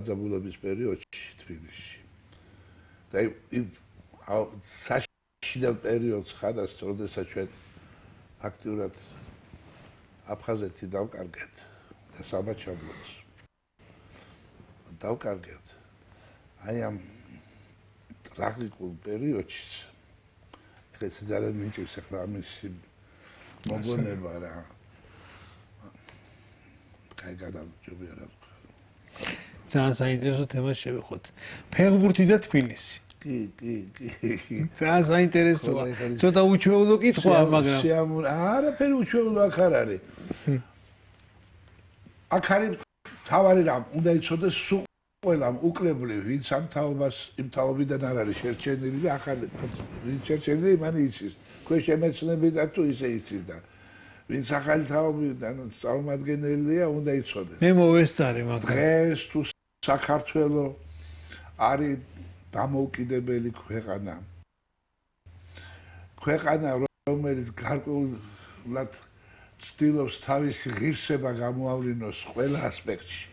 დაძაბულობის პერიოდში თბილისში. და საშინელ პერიოდს ხარას, როდესაც ჩვენ ფაქტიურად აფხაზეთი დავკარგეთ და საბაჩაბლოს დავკარგეთ. აი ამ ტრაგიკულ პერიოდში ეს ძალიან მიჭირს ახლა ამის მოგონება რა. კაი გადავჭობი რა. ძალიან საინტერესო თემა შევეხოთ. ფეხბურთი და თბილისი. კი. ძალიან საინტერესოა. ცოტა უჩვეულო კითხვაა, მაგრამ არაფერი უჩვეულო აქ არ არის. აქ არის თავარი რამ უნდა იცოდეს სულ ყველამ უკლებლივ, ვინც ამ თაობას იმ თაობიდან არ არის შერჩენილი და ახალი ვინც შერჩენილი მან იცის. ქვეშ შემეცნები და თუ ისე იცის და ვინც ახალი თაობიდან წარმომადგენელია უნდა იცოდეს. მე მოვესწარი მაგრამ დღეს თუ საქართველო არის დამოუკიდებელი ქვეყანა. ქვეყანა რომელიც გარკვეულად ცდილობს თავისი ღირსება გამოავლინოს ყველა ასპექტში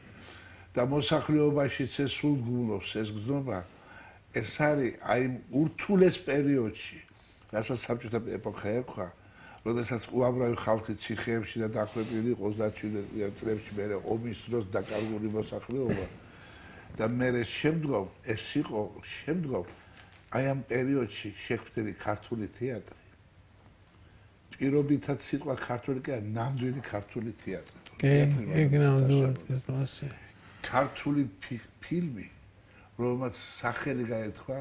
და მოსახლეობაშიც ეს სულგუნობს ეს გზნობა ეს არის აი ურთულეს პერიოდში რასაც საბჭოთა ეპოქა ერქვა როდესაც უამრავი ხალხი ციხეებში და დახვეპილი იყო 37 წლებში მერე ომის დროს დაკარგული მოსახლეობა და მერე შემდგომ ეს იყო შემდგომ აი ამ პერიოდში შექმნილი ქართული თეატრი პირობითად სიტყვა ქართული კი არა ნამდვილი ქართული თეატრი კი ეგ ნამდვილად ეს მასე ქართული ფილმი რომელმაც სახელი გაერთვა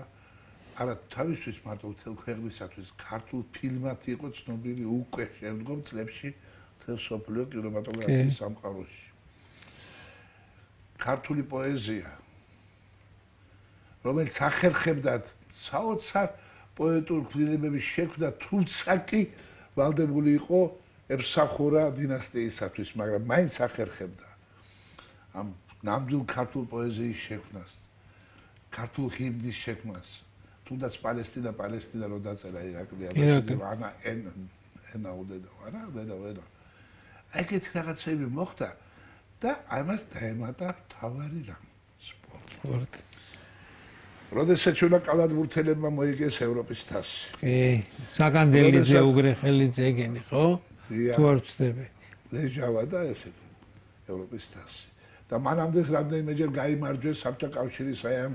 არა თავისთვის მარტო მთელ ქვეყნისათვის ქართულ ფილმად იყო ცნობილი უკვე შემდგომ წლებში მთელ სოფლიო კინემატოგრაფიის სამყაროში ქართული პოეზია რომელიც ახერხებდა საოცარ პოეტურ ფილმების შექმნა თუმცა კი ვალდებული იყო ემსახურა დინასტიისათვის მაგრამ მაინც ახერხებდა ამ ნამდვილ ქართულ პოეზიის შექმნას ქართულ ჰიმნის შექმნას თუნდაც პალესტინა რო დაწერა ირაკლი ანა ენა უდედა არა უდედა ეგეთი რაღაცები მოხდა და ამას დაემატა თავარი რამ სპორტი როდესაც ჩვენ კალათბურთელებმა მოიგეს ევროპის თასი კი საგანდელიძე უგრეხელიძე ეგენი ხო თუ არ ვწდები ლეჟავა და ესეთი ევროპის თასი და მანამდე რამდენიმეჯერ გაიმარჯვეს საბჭოთა კავშირის აი ამ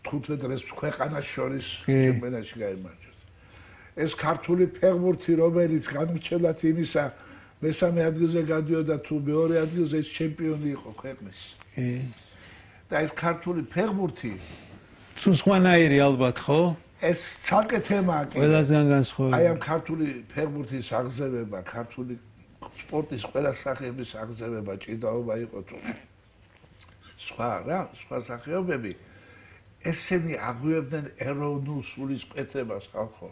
15 რეს ქვეყანას შორის ჩემპიონატში გაიმარჯვეს ეს ქართული ფეხბურთი რომელიც განმჩნევად იმისა მესამე ადგილზე გადიოდა თუ მეორე ადგილზე ეს ჩემპიონი იყო ქვეყნის და ეს ქართული ფეხბურთი თუ სხვანაირი ალბათ ხო ეს ცალკე თემაა კი ყველასგან განსხვავებული აი ამ ქართული ფეხბურთის აღზევება ქართული სპორტის ყველა სახეების აღზევება ჭიდაობა იყო თუ სხვა რა სხვა სახეობები ესენი აღვიებდნენ ეროვნულ სულისკვეთებას ხალხო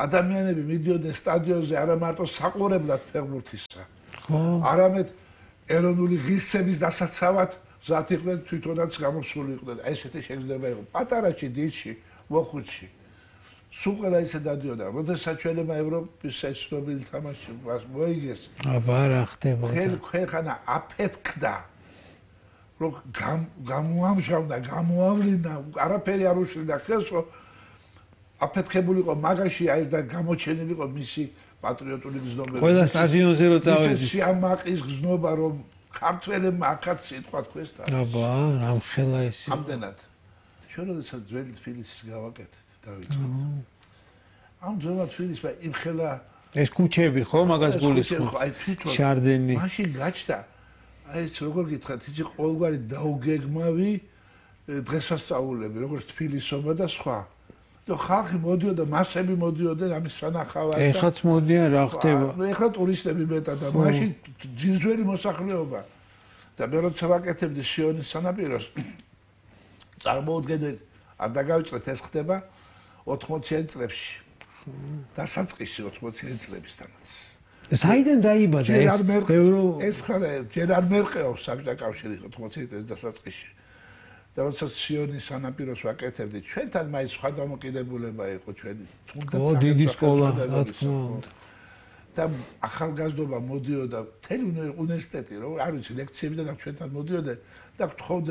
ადამიანები მიდიოდნენ სტადიონზე არა მარტო საყურებლად ფეხბურთისა ხო არამედ ეროვნული ღირსების დასაცავად ზათ იყვნენ თვითონაც გამოსული იყვნენ აი ესეთი შეგრძნება იყო პატარაში დიდში მოხუცში სულ ყველა ისე დადიოდა როდესაც ჩვენმა ევროპის ცნობილი თამაში მოიგეს აბა რა ხდებოდა ხელ ქვეყანა აფეთქდა რომ გამოამჟავნა გამოავლინა არაფერი არ უშლიდა ხელს რომ აფეთქებული იყო მაგაში აი და გამოჩენილი იყო მისი პატრიოტული გზნობები ყველა სტადიონზე რო წავედი სიამაყის გზნობა რომ ქართველებმა ახაც სიტყვა თქვეს და აბა რამ ხელა ეს ამდენად ჩვენ როდესაც ძველი თბილისის გავაკეთეთ დავიწყოთ ამ ძველი თბილისმა იმ ხელა ეს ქუჩები ხო მაგას გულისხმობ აი თვითონ შარდენი მაშინ გაჩნდა აი ეს როგორ გითხრათ იცი ყოველგვარი დაუგეგმავი დღესასწაულები როგორც თბილისობა და სხვა და ხალხი მოდიოდა მასები მოდიოდნენ ამის სანახავად და ეხაც მოდიან რა ხდება ეხლა ტურისტები მეტად და მაშინ ძინძველი მოსახლეობა და მე როცა ვაკეთებდი სიონის სანაპიროს წარმოუდგენელი არ დაგავიწყეთ ეს ხდება 80-იან წლებში დასაწყისი 80-იან წლებისთანაც საიდან დაიბადა ეს ხარ ჯერ არ მერყეობს საბჭოთა კავშირი 80-იან წლების დასაწყისში და როდესაც სიონის სანაპიროს ვაკეთებდი ჩვენთან მაინც სხვა დამოკიდებულება იყო ჩვენი თუნდაც დიდი სკოლა რა თქმა უნდა და ახალგაზრდობა მოდიოდა მთელი უნივერსიტეტი, რომ არ ვიცი, ლექციებიდან აქ ჩვენთან მოდიოდნენ და გთხოვდნენ